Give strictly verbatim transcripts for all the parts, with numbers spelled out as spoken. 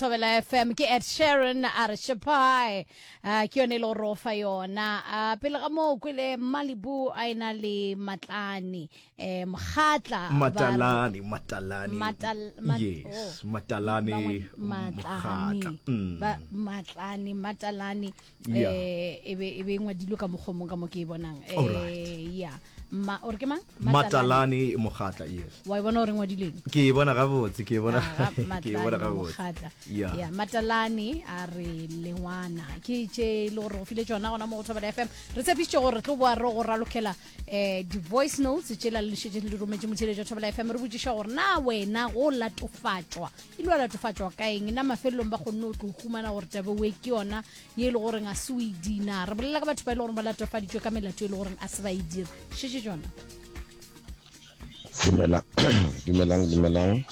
Thobela F M. Ke Ed Sheeran a re Shapai, uh, ke yone e le gore o fa yona. uh, pele ga moo kwele Malibu a ena le Matlane, eh, Mokgatla. Matalane, Matalane. Matal- mat- Yes. Oh. Matalane. Bangwe- Mokgatla. Matlane. Mm. Ba- matlane Matalane. Yeah. eh e be e be e ngwadilwe ka mokgomong ka mo ke e bonang. Alright. Eh, ya ma ore ke mang? Matalane Mokgatla, yes. Wa e bona gore ngwadileng? Ke e bona gabotse, ke e bona. Ah, Ke e bona Matlane gabotse. Mokgatla. Yeah. Ya, Matalane a re lengwana ke tše e le gore go file tšona gona mo go Thobela F M. Re tshepišitše gore re tlo boa re go ralokela um di-voice notes tšela le šetše le rometše motheletšo wa Thobela F M. Re botšiša gore na wena go latofatšwa e le wa latofatšwa ka eng, na mafelelong ba kgonne o tlo humana gore tabe we ke yona ye e le goreng a se o e dina. Re bolela ka batho ba e le goreng ba latofaditšwe ka melato e le goreng a se ba e dire. Šetše tšona. Dumela, dumelang, dumelang.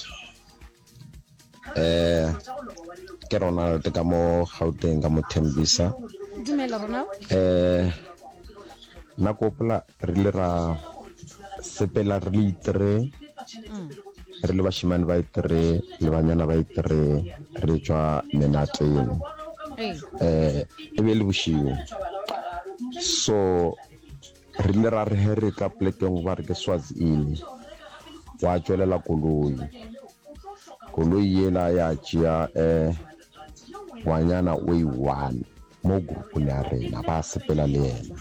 Eh ke Ronald ka mo Gauteng, ka mo Thembisa. Dumela, Ronald. Eh nna ke gopola re ile ra sepela re le itre, re le bashimane ba itre le banyana ba itre, re tšwa menateng. Ee. Eh e be le bošego. So re ile ra re he re tla plekeng ba re ke Swazi Inn, gwa tšwelela koloi. Koloi yela ya tšea eh ngwanyana o e one mo groupong ya rena, ba sepela le yena.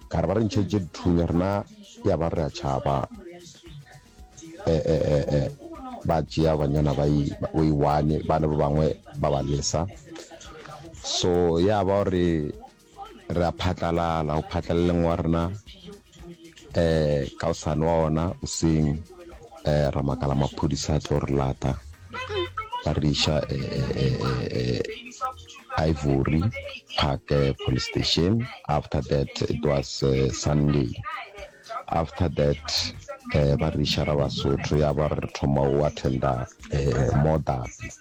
Ka re ba re ntšheditše dithunya, rena ya ba re a tšhaba. eh eh eh eh ba tšea banyana ba o e one, ba le ba bangwe ba ba lesa. So ya ba gore re a phatlalala, go phatlalaleng wa rena eh ka osane wa ona oseng eh ra makala maphodisa a tlo re lata, ba re iša eh, eh, eh, eh, Ivory Park eh, police station. After that it was uh, Sunday. After that eh ba re iša ra Basotho, ya ba re thoma o attenda eh Modapi.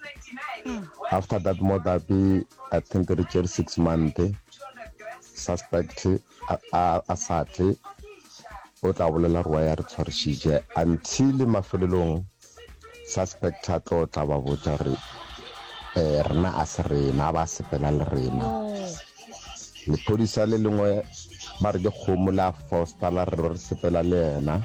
After that Modapi, I think re tšere six month, suspect a, a, a sa tle o tla bolela gore wa ya re tshwarišitše, until mafelelong suspect a tlo tla ba botša re eh rena a se rena, ba sepela le rena. Lephodisa le lengwe ba re ke kgomo la Foster la re re sepela le yena.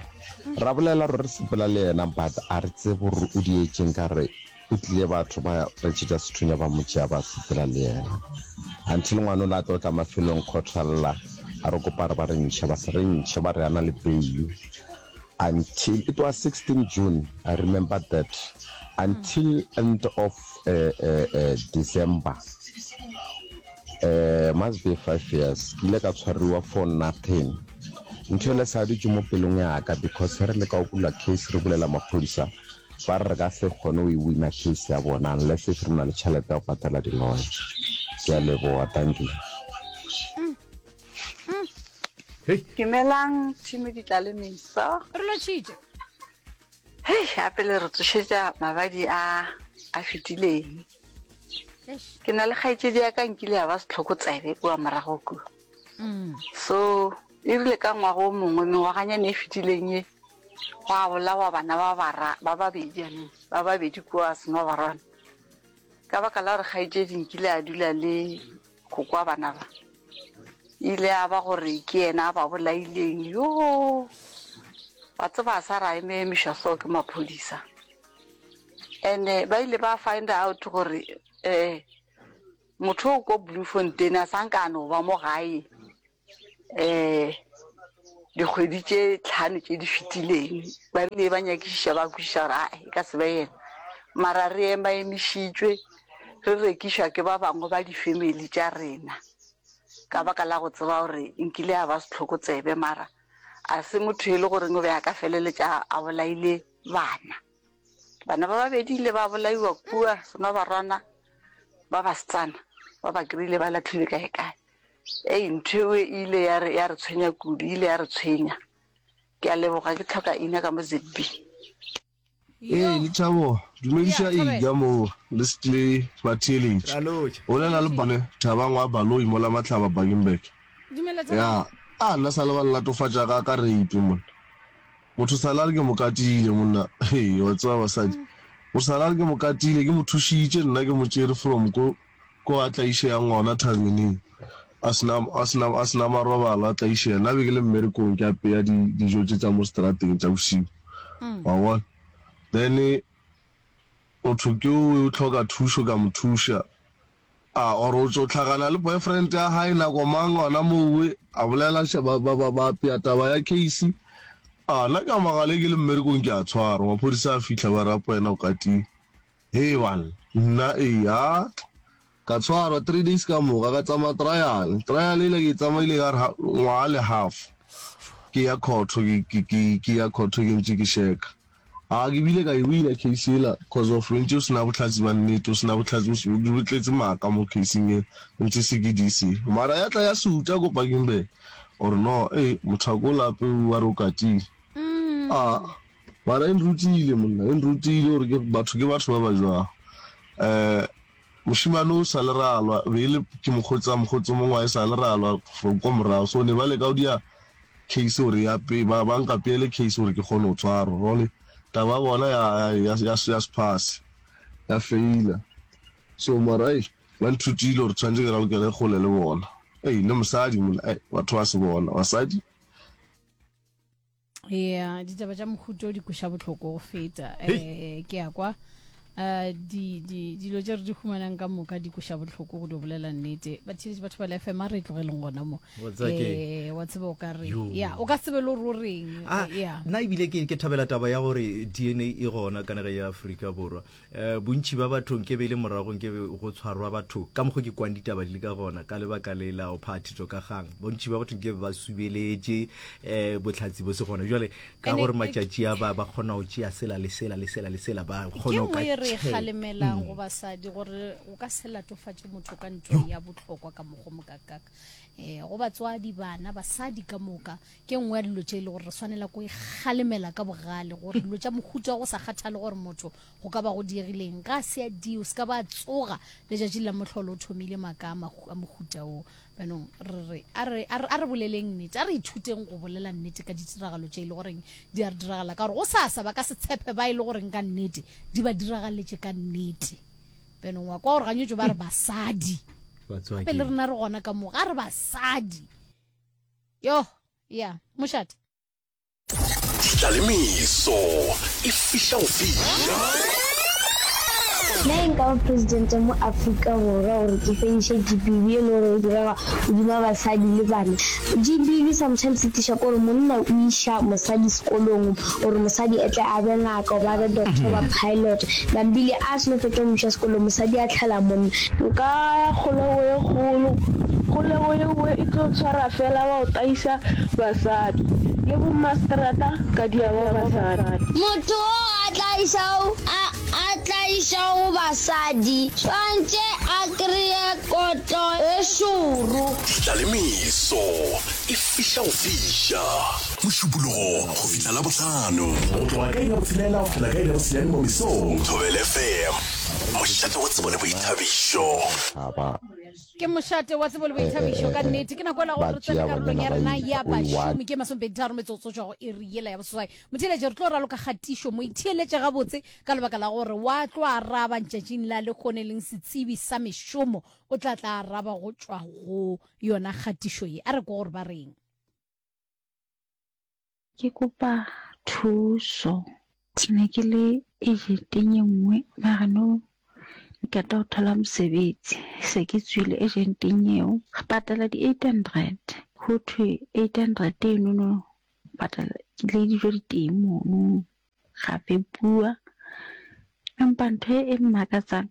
Ra bolela gore re sepela le yena, but a re tsebe gore o dietšeng, ka re o tlile batho ba re tšetša sethunya ba mo tšea ba sepela le yena. Until ngwana o la tlo tla mafelong court a lla, a re kopa re ba re ntšhe, ba se re ntšhe, ba re a na le bail. Until it was sixteen June, I remember that, until end of uh, uh, uh, December, uh, must be five years, ke ile ka tshwariwa for nothing. Ntho ele sa dutše mo pelong ya ka, because re le ka o bula case re bulela maphodisa, ba re re ka se kgone go e wina case ya bona unless if re na le tšhelete ya go patela di-lawyer. Ke a leboga, thank you. Hei. Dumelang team Ditlalemeso. Re lotšhitše. Hei, gape le re tsošetša mabadi a a fetileng. Eish. Ke na le kgaetšedi ya ka nkile ya ba setlhokotsebe kua morago kua. Mm. So e rile ka ngwaga o mongwe, mengwaganyana e fetileng ye, gwa bolawa bana ba bara ba babedi, I mean, ba babedi kua Senobarwana. Ka baka la gore kgaetšedi nkile a dula le koko wa bana ba, ile a ba gore ke yena a ba bolaileng. Yo, wa tseba a sa ra eme emišwa so ke maphodisa. And ba ile ba find out gore eh motho o ko Bloemfontein a sa nka no ba mo gae eh dikgwedi tše tlhano tše di fetileng. Ba rile ba nyakišiša ba kwešiša gore a e ka se be yena, mara re ema emišitšwe re rekišwa ke ba bangwe ba di-family tša rena ka baka la go tseba gore nkile a ba setlhokotsebe, mara a se motho e le goreng o be a ka feleletša a bolaile bana. Bana ba babedi ile ba bolaiwa kua Senobarwana, ba basetsana ba ba kry-ile ba latlhilwe kae kae. Ei, ntho eo e ile ya re ya re tshwenya kudu, e ile ya re tshwenya. Ke a leboga, ke tlhoka ina ka mo Z B. Ee, Lethabo, dumediša Ya, thobela. Ija moo le le batheeletši. Ra lotšha. Bolela le bone Thabang wa Baloi mola Mahlaba Bakenberg. Dumela Thabang. Ya, a nna sa le ba nlatofatša ka ka rape monna. Motho sa la re ke mo katile monna. Hei, wa tseba basadi. O sa la re ke mo katile, ke mo thušitše nna ke mo tšere from ko ko a tlaišegang gona thabeneng. A se na a se na a se na marobalo a tlaišega. Nna be ke le mmerekong ke apeya di dijo tše tša mo seterateng tša bošego. Wa bona? Then motho ke o o hloka thušo ka mo thuša. A or o tšo hlakana le boyfriend ya hae nako mang gona mowe a bolela ba ba ba ba apea taba ya case. A nna ka magale ke le mmerekong ke a tshwarwa maphodisa a fihla ba re apo wena o katile. Hee banna nna ee ha ka tshwarwa three days ka moka ka tsamaya trial. Trial ela ke e tsamaile ka re ngwaga le half ke ya court ke ke ke ke ya court ke ntše ke sheka. A ke bile ka e wina case yela cause of ntše o sena bohlatse ba nnete o sena bohlatse bo tletse maaka mo caseng yela ntše se ke D_C mara ya tla ya suta ko Bakenberg or no ee motho a ko lape wa re o katile a mara e nrutile monna e nrutile gore ke batho ke batho ba ba jwang um mošemane o sa le ralwa be e le ke mokgotsi a mokgotsi o mongwe wa e sa le ralwa from ko morago so ne ba leka go dia case gore ya pe ba ba nkapeele case gore ke kgone go tshwarwa jwale taba ya bona ya ya ya ya se pass ya faila so mara ei ba nthutile gore tshwanetse ke ralokele kgole le bona ei le mosadi mona ei batho ba se bona basadi ya ditaba tša mohuto di kweša bohloko go feta um ke ya kwa um di di dilo tše re di humanang ka moka di kweša bohloko go di bolela nnete batheletši batho ba le fm a re tlogeleng gona mo Wa tseba ke- um wa tseba o ka re Yo. ya o ka se tsebe le gore o reng Ah, ya nna ebile ke ke thabela taba ya gore D N A e gona ka nageng ya Afrika Borwa. um bontši ba batho nke be e le morago nke be go tshwarwa batho ka mokgwa ke kwang ditaba di le ka gona ka lebaka le la go phathišo ka kgang, bontši ba batho nke be ba subeletše um bohlatse bo se gona. Jwale ka Ene gore e- matšatši a ba ba kgona go tšea sela le sela le sela le sela ba ke kgona go ka nngwe e re e check. kgalemelang go basadi gore o ka se latofatše motho ka ntho ya bohlokwa ka mokgwa mokakaka um go batswadi bana basadi ka moka ke nngwe ya dilo tše e le gore re swanela ko e kgalemela ka bogale gore dilo tša mohuta wa go sa kgathale gore motho go ka ba go diegileng ga a se a dio se ka ba tsoga letšatši la mohlolo o thomile maaka a mahu- a mohuta o. Banong re re a re a re a re boleleng nnete, a re ithuteng go bolela nnete ka ditiragalo tše e le goreng di a re diragala ka gore go sasa ba ka se tshepe ba e le goreng ka nnete di ba diragaletše ka nnete. Banong wa kwa gore ganyetšo ba re basadi Batswadi. gape le rena re gona ka mo ga re basadi yo ya mošate. Tlalemeso e fiša go fiša. Nna e nka ba presidente mo Afrika Borwa gore ke fediše G B V e le gore e direga godima basadi le bana. G B V sometimes e tliša ke gore monna o iša mosadi sekolong gore mosadi e tle a be ngaka goba a be doctor goba pilot. Nambile a seno fetša go mo iša sekolong mosadi a tlhala monna. Nka ya kgolego ye kgolo, kgolego yeo e tlo tshwara fela ba go taisa basadi le bommaseterata ka dia ba basadi. Motho o a tlaišago a a tlaišago basadi swantše a kreye kotlo e šoro. Tlalemeso e fiša go fiša. Mošupologo go fihla Labohlano. Go tloga ka iri ya botshelela go fihla ka iri ya bosenyane mo mesong. Thobela F M. Mošate wa tsebo le boithabišo. Ba Ke mošate wa tsebo le boithabišo ka nnete. Ke nako ela gore ba re tsene tšea karolong ya banyana ba rena ya o e one. bašomi ke masomepeditharo metsotso tšwa go iri yela ya boseswai. Motheeletše re tlo raloka kgatišo mo itheeletše gabotse ka lebaka la gore wa tlo araba ntšatšing la lekgone leng setsebi sa mešomo o tla tla araba go tšwa go yona kgatišo ye. A re ko gore ba reng. Ke kopa thuso. Ke ne ke le agenteng e nngwe mara nou ke qeta ho thola mosebetsi. Se ke tswile agenteng eo. Re patala di-eight hundred. Ho thwe eight hundred enono patala le dijo di teng mono. Ra fepuwa. Empa ntho e mmakatsang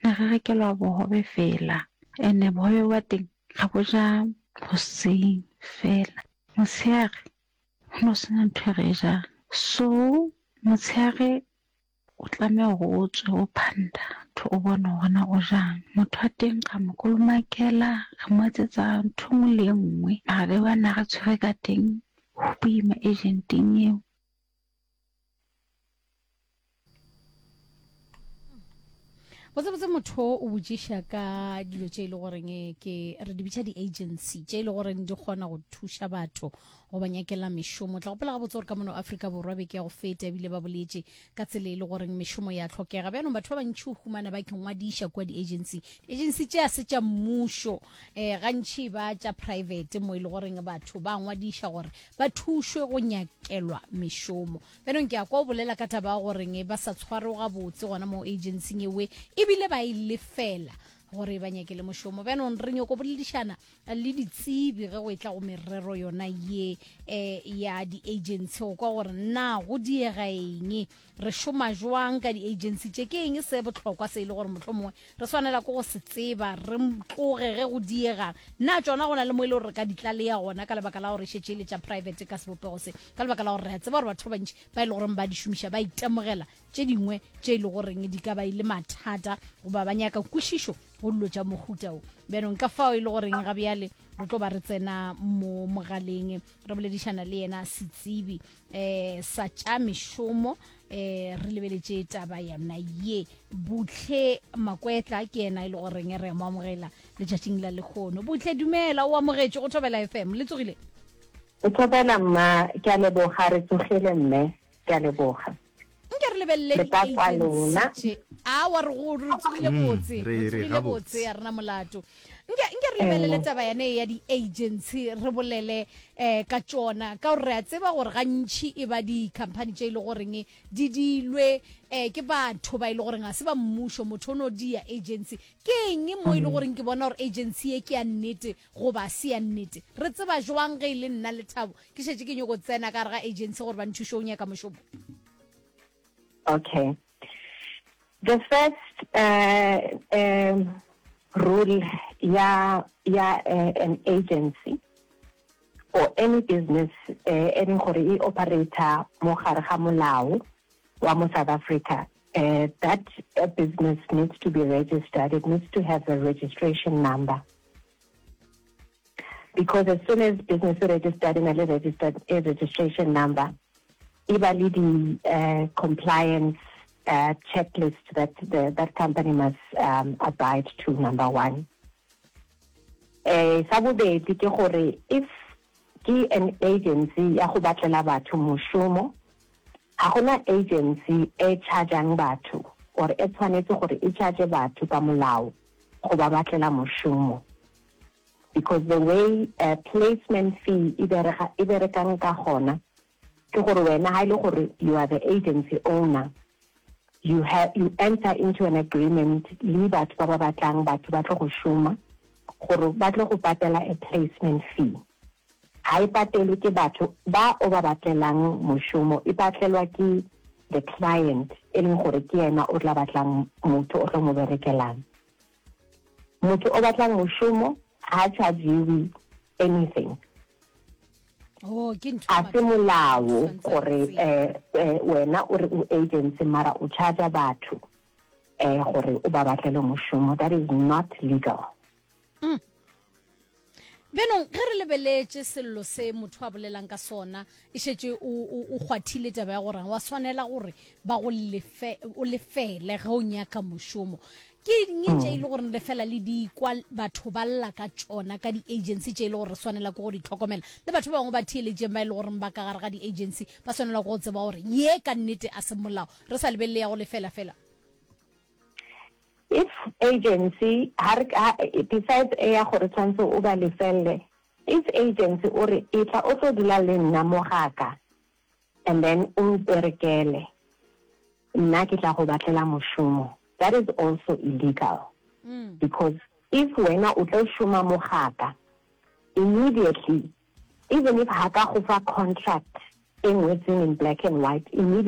ne re rekelwa bohobe fela. Ene bohobe ba teng re bo ja hoseng fela. Motshehare ho no sena ntho e re e jang. So motshehare o tlameha hore o tswe o phanda ntho o bone hore na o jang. Motho wa teng ra mo kolomakela, re mo etsetsa ntho e nngwe le e nngwe. Mara le bana re tshwere ka teng ho boima agenteng eo. Botsebotse motho o botšiša ka dilo tše e le goreng ke re di bitša di-agency tše e le goreng di kgona go thuša batho go ba nyakela mešomo. Tla gopola gabotse gore ka mono Afrika Borwa beke ya go feta ebile ba boletše ka tsela e le goreng mešomo ya hlokega. Bjanong batho ba bantši o humana ba ikngwadiša kua di-agency. Di-agency tše a se tša mmušo, um gantši ba tša private mo e le goreng batho ba ngwadiša gore ba thušwe go nyakelwa mešomo. Bjanong ke a kwa o bolela ka taba ya goreng ba sa tshwarwe gabotse gona mo agency ewe ebile ba e lefela gore ba nyakele mošomo. Bjanong re nyoko boledišana le ditsebi ge go e tla go merero yona ye um ya di-agency go kwa gore na go diega eng, re šoma jwang ka di-agency tše, ke eng se bohlokwa se e le gore mohlomongwe re swanela ke go se tseba re tloge ge go diegang. Na tšona go na le mo e le gore re ka di tlalea gona ka lebaka la gore e šetše e le tša private ka sebopego se, ka lebaka la gore re a tseba gore batho ba bantši ba e le goreng ba di šomiša ba itemogela tše dingwe tše e le goreng di ka ba e le mathata goba ba nyaka kwešišo go dilo tša mohuta o. Bjanong ka fao e le goreng ga bjale re tlo ba re tsena mo mogaleng re boledišana le yena setsebi um sa tša mešomo, um re lebeletše taba yona ye. Buhle Makwetla ke yena e le goreng re mo amogela letšatšing la lekgono. Buhle, dumela, o amogetše go Thobela F M. Le tsogile? O thobela mma, ke a leboga, re tsogile mme, ke a leboga. Nke re lebelele Re ka kwa lona. di-agency tše. Aowa, re go, re tsogile Mm, botse, re- re re tsogile gabotse. botse, ya rena molato. Nke, nke re lebelele taba yane ya di-agency, re bolele eh ka tšona, ka gore re a tseba gore gantši e ba di-company tše e le goreng di dilwe eh ke batho ba e le goreng ga se ba mmušo, motho o no dia agency. Ke eng mo e le goreng ke bona gore agency ye ke ya nnete goba se ya nnete? Re tseba jwang ge e le nna Lethabo ke šetše ke nyoko tsena ka gare ga agency gore ba nthuše go nyaka mošomo? Okay. The first uh, um, rule ya, ya uh, an agency or any business uh, e leng gore e operator mo gare ga molao wa mo South Africa, uh, that uh, business needs to be registered. It needs to have a registration number. Because as soon as business is registered in a registered a registration number, e ba le di, uh, compliance, uh, checklist that the, that company must, um, abide to, number one. Eh, sa bobedi ke gore if ke an agency ya go batlela batho mošomo, ga gona agency e chargeang batho or e tshwanetse gore e charge batho ka molao go ba batlela mošomo. Because the way, uh, placement fee e berega, e berekang ka gona, ke gore wena ha e le gore you are the agency owner, you have, you enter into an agreement le batho ba ba batlang batho ba tlo go šoma, gore ba tlo go patela a placement fee. Ha e patelwe ke batho ba o ba batlelang mošomo, e patelwa ke the client, e leng gore ke yena o tla batlang motho o tlo mo berekelang. Motho o batlang mošomo ha charge-iwe anything. Oh, ke ntho A se molao Tshwanetse gore, re tsebe. eh, eh, wena o re o agency mara o charge batho, eh, gore o ba batlele mošomo. That is not legal. Mm. Bjanong ge re lebeletše sello se motho a bolelang ka sona, e šetše o, o, o kgwathile taba ya gore wa swanela gore ba go lefe, o lefele ge o nyaka mošomo. Ke eng tše e le gore lefela le di kwa batho ba lla ka tšona ka di-agency tše e le gore re swanela ke go di tlhokomela, le batho ba bangwe ba theeletšeng ba e le gore ba ka gare ga di-agency ba swanela ke go tseba gore ye ka nnete a se molao, re sa lebelele ya go lefela fela? If agency, ha re, ha, besides e ya gore tshwanetse o ba lefelle, if agency o re e tla o tlo dula le nna mo gaka and then o mperekele, nna ke tla go batlela mošomo, that is also illegal. Mm. Because if wena o tlo šoma mo gaka, immediately, even if ha ka go fa contract e ngwetseng in black and white, immediately